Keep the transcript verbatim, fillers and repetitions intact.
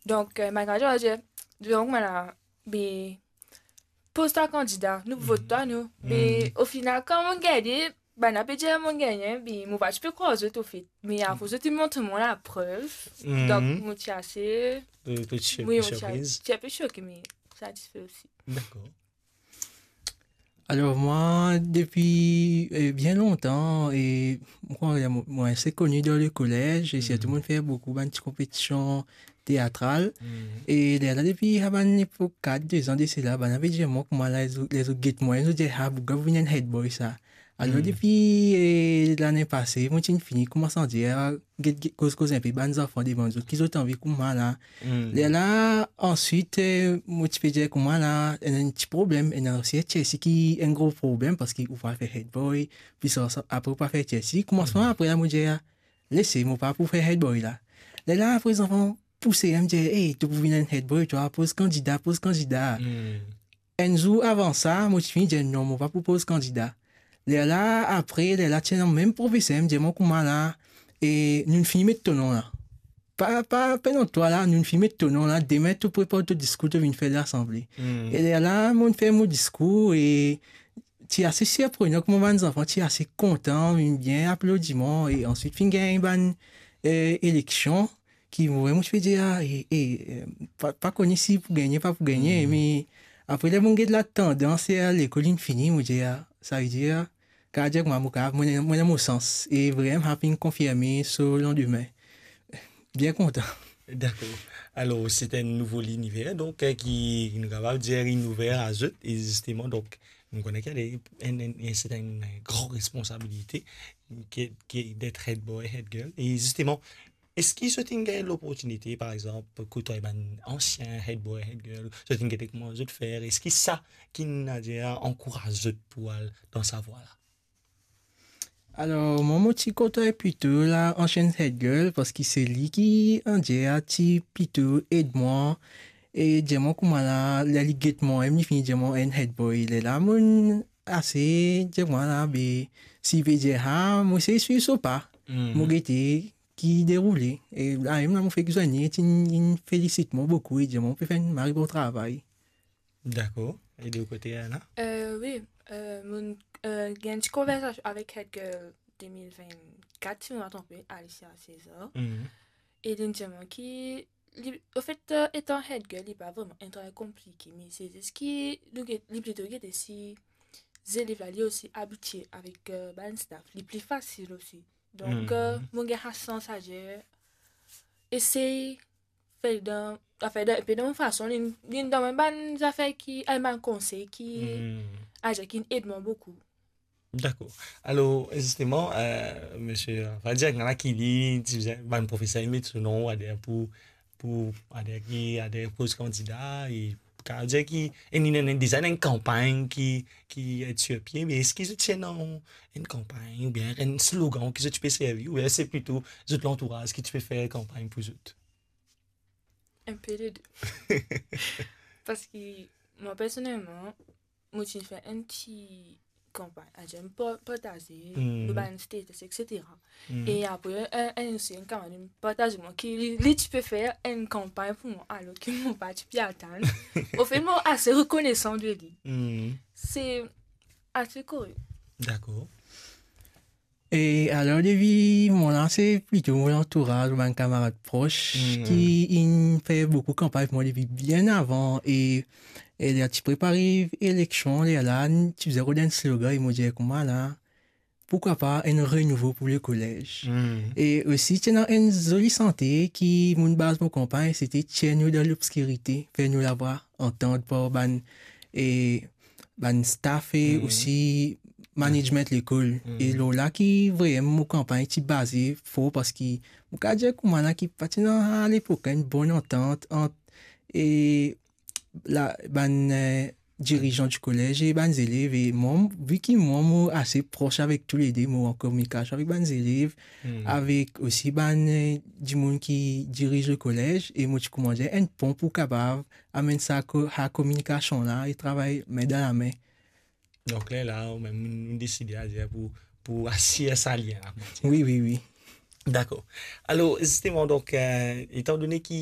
Donk, eh, bann kandida, mo dir, donk, mo la, be, poz twa kandida, nou vot twa, nou. Be, ofinal, kan mo gagne, bann la pe dir mo gagne, be, mo pa ti pe krwar zot, anfet. Me apre, zot inn montre mwa laprev. Donk, mo ti ase, wi, mo ti a-, ti inpe soke, me satisfe osi. Dakor. Alor, mwa, depi, eh, bien lontan, e, mwa, mwa, mwa, se koni dan lekolez, e sirtou, mo fer boukou bann ti konpetision teatral. E lerla, depi, ah, bann epok kat, de zan de sela, bann la pe dir mwa kouma la, zot, zot get mwa, zot dir, "Ah, bouga pou vinn enn head boy, sa." Alor, depi, eh, lane pase, mo ti fini koumans andir, get, get, koz, koz inpe bann zanfan, demann zot ki zot anvi kouma la. Lerla, answit, eh, mo ti pe dir kouma la, ena enn ti problem, ena osi Chelsea ki enn gro problem, parski ou pa fer head boy, plis sa, sa, apre ou pa fer Chelsea. Koumansman, apre la, mo dir, "Lese, mo pa pou fer head boy la." Lerla, apre zanfan pouse, mo dir, "Ey, to pou vinn enn head boy, twa, poz kandida, poz kandida." Enn zour avan sa, mo ti fini dir, "Non, mo pa pou poz kandida." Lerla, apre, lerla, ti ena mem profeser, mo dir mwa kouma la, e nou fini met to non la. Pa, pa, pandan twa la, nou fini met to non la, demin to prepar to diskour, to vinn fer lasanble. E lerla, mo fer mo diskour, e ti ase sirprenan kouma bann zanfan ti ase kontan, vinn bien aplodi mwa, e answit finn gagn bann, eh, eleksion, ki mo, mo ti pe dir, ah, e, e, eh, pa, pa kone si pou gagne, pa pou gagne, me apre, ler mo get latandans, e lekol inn fini, mo dir, ah, savedir, kapav dir kouma mo kapav, mo ena, mo ena mo sans, e vremem, sa finn konfirme so landime. Bien kontan. Dakor. Alor, se enn nouvo liniver, donk, eh, ki, ki nou kapav dir inn ouver a zot, e zisteman, donk, nou kone ki ena enn, enn, enn, se enn gran responsabilite ki, ki d'être head boy, head girl. E zisteman, eski zot inn gagn loportinite, par exanp, koutway bann ansien head boy, head girl, zot inn gete kouma zot fer? Eski sa ki'nn, adir, ankouraz zot pou al dan sa vwa la? Alor, mwa, mo ti kontway plito la ansien head girl, parski se li ki, adir, ti plito ed mwa, e dir mwa kouma la, ler li get mwa, e li fini dir mwa enn head boy. Lerla, mo'nn ase dir mwa la, be, si li pe dir sa, mo sey swiv so pa. Mo gete ki deroule. E la mem la, mo fek zwenn li, e ti, li felisit mwa boukou, e dir mwa mo pe fer enn mari bon travay. Dakor. E de kote, Anna? Eh, wi, eh, mo'nn, eh, gagn ti konversasion avek head girl de mil vennkat, si mo pa tronpe, Alicia César. E li'nn dir mwa ki, li, anfet, eh, etan head girl, li pa vreman enn travay konplike, me se zis ki nou get, li plito gete si zelev la, li osi abitie avek, eh, bann staff, li pli fasil osi. Donk, eh, mo gagn sa sans, adir, esey fer dan, afer dan, inpe dan mo fason, li, li donn mwa bann zafer ki, eh, bann konsey ki, adir, ki'nn ed mwa boukou. Dakor. Alor, zisteman, eh, misie, anfin, dir, ena ki li, ti bizin, bann profeser, li met so non, adir, pou, pou, adir, ki, adir, poz kandida, e kapav dir ki, e ena, ena deza enn kanpagn ki, ki et sir pie, me eski zot ti ena enn kanpagn, oubien enn slogan ki zot ti pe servi, oubien se plito zot lantouraz ki ti pe fer kanpagn pou zot? Inpe lede. Parski mwa, personelman, mo ti fer enn ti kanpagn, adir, mo pa-, partaze lor bann status, et cetera. E apre, enn, enn, osi enn kamarad partaze mwa ki li, li ti pe fer enn kanpagn pou mwa, alor ki mo pa ti pe atann. Anfet, mo ase rekonesan de li. Se ase korek. Dakor. E alor, depi mwa la, se plito mo lantouraz, bann kamarad pros ki inn fer boukou kanpagn pou mwa depi bien avan, e, e ler ti prepare eleksion, lerla, ti bizin rod enn slogan, e mo dir kouma la, poukwa pa enn renouvo pou lekolez. E osi, ti ena enn zoli sante ki mo'nn baz mo kanpagn, sete Tir nou dan lobskirite, fer nou lavwa antann par bann, e, bann staff e osi management lekol. E lor la ki vremem mo kanpagn ti baze for, parski mo kapav dir kouma la ki pa ti ena alepok enn bonn antant ant, e, la, bann, eh, dirizan di kolez e bann zelev. E mwa, vi ki mwa, mo ase pros avek toulede, mo an kominikasion avek bann zelev, avek osi bann, eh, dimoun ki diriz lekolez, e mo ti koumans enn pon pou kapav amenn sa ko-, sa kominikasion la e travay min dan lame. Donk, lerla, ou mem, nou deside, adir, pou, pou asir sa lien la. Wi, wi, wi. Dakor. Alor, zisteman, donk, eh, etandone ki